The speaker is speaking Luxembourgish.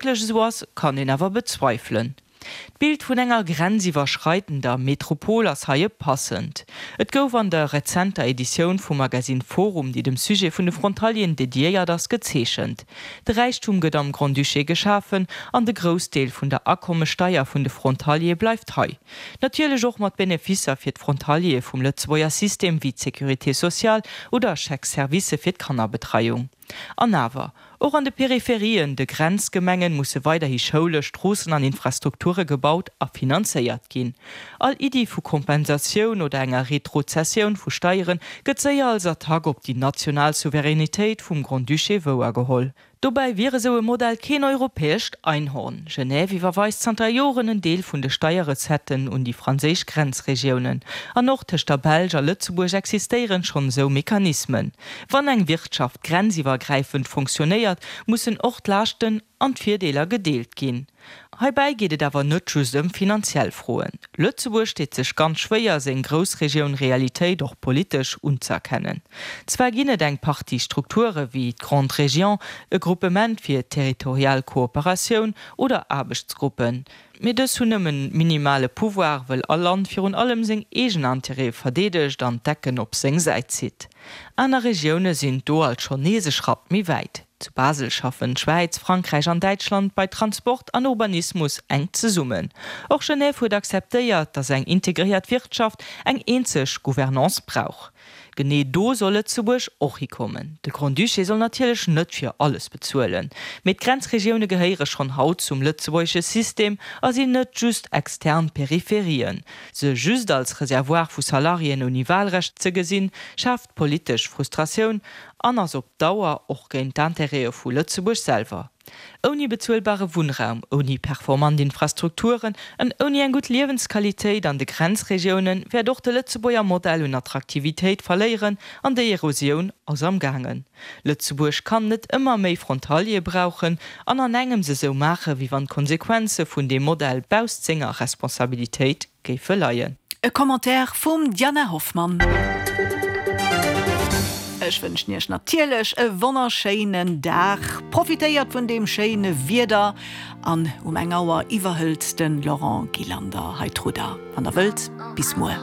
wierklech esou ass, kann een awer bezweifelen. D'Bild vun enger grenziwwerschreidender Metropol ass hei e passend. Et gouf an der rezenter Editioun vum Magasinn Forum, déi dem Sujet vun de Frontalieren dediéiert ass, gezeechent. De Räichtum gëtt am Grand-Duché geschafen an de Groussdeel vun der Akommessteier vun de Frontaliere bleift hei. Natierlech och mat Beneficer fir d'Frontaliere vum Lëtzebuerger System wéi d'Sécurité sociale oder Chèques-services fir d'Kannerbetreiung. An awer, och an de Peripherien, de Grenzgemengen, musse weiderhi Schoule, Stroossen an Infrastrukture gebaut a finanzéiert ginn. All Iddi vu Kompensatioun oder enger Retrozessioun vu Steiere gëtt séier als Attack op déi national Souveränitéit vum Grand-Duché wouergeholl. Dobäi wier esou e Modell keen europäescht Einhorn. Genève iwwerweist zanter Joren en Deel vun de Steierrecetten un déi franséisch Grenzregiounen. An och tëscht der Belsch a Lëtzebuerg existéieren schonn esou Mechanismen. Wann eng Wirtschaft grenziwwergräifend fonctionnéiert, mussen och d'Laaschten an d'Virdeeler gedeelt ginn. Heibäi geet et awer net just ëm finanziell Froen. Lëtzebuerg deet sech ganz schwéier, seng Groussregioun-Realitéit och politesch unzëerkennen. Zwar ginn et eng Partie Strukture wéi d'Grande Région, e Gruppement fir territorial Kooperatioun oder Aarbechtsgruppen, mee dës hunn nëmmen minimale Pouvoir, wëll all Land virun allem seng eegen Intérêtë verdeedegt an d'Ecken op seng Säit zitt. Aner Regioune sinn do alt schonn nees e Schratt méi wäit. Zu Basel schaffen d'Schwäiz, Frankräich an Däitschland bei Transport an Urbanismus enk zesummen. Och Genève huet akzeptéiert, datt eng integréiert Wirtschaft eng eenzeg Gouvernance brauch. Genee do soll Lëtzebuerg och hikommen. De Grand-Duché soll natierlech net fir alles bezuelen, mee d'Grenzregioune gehéiere schonn haut zum lëtzebuergesche System a sinn net just extern Peripherien. Se just als Reservoir vu Salariéen ouni Wahlrecht ze gesinn, schaaft politesch Frustratioun an ass op Dauer och géint d'Intérêtë vu Lëtzebuerg selwer. Ouni bezuelbare Wunnraum, ouni performant Infrastrukturen an ouni eng gutt Liewensqualitéit an de Grenzregioune wäert och de Lëtzebuerger Modell un Attraktivitéit verléieren an déi Erosioun ass am gaangen. Lëtzebuerg kann net ëmmer méi Frontaliere brauchen an an engems esou maache wéi wann d'Konsequenze vun deem Modell bausst senger Responsabilitéit géife leien. E Commentaire vum Diana Hoffmann. Ech wënschen iech natierlech e wonnerschéinen Dag. Profitéiert vun deem schéine Wieder an um eng Auer iwwerhëlt de Laurent Gillander hei d'Rudder. Wann der wëllt, bis muer.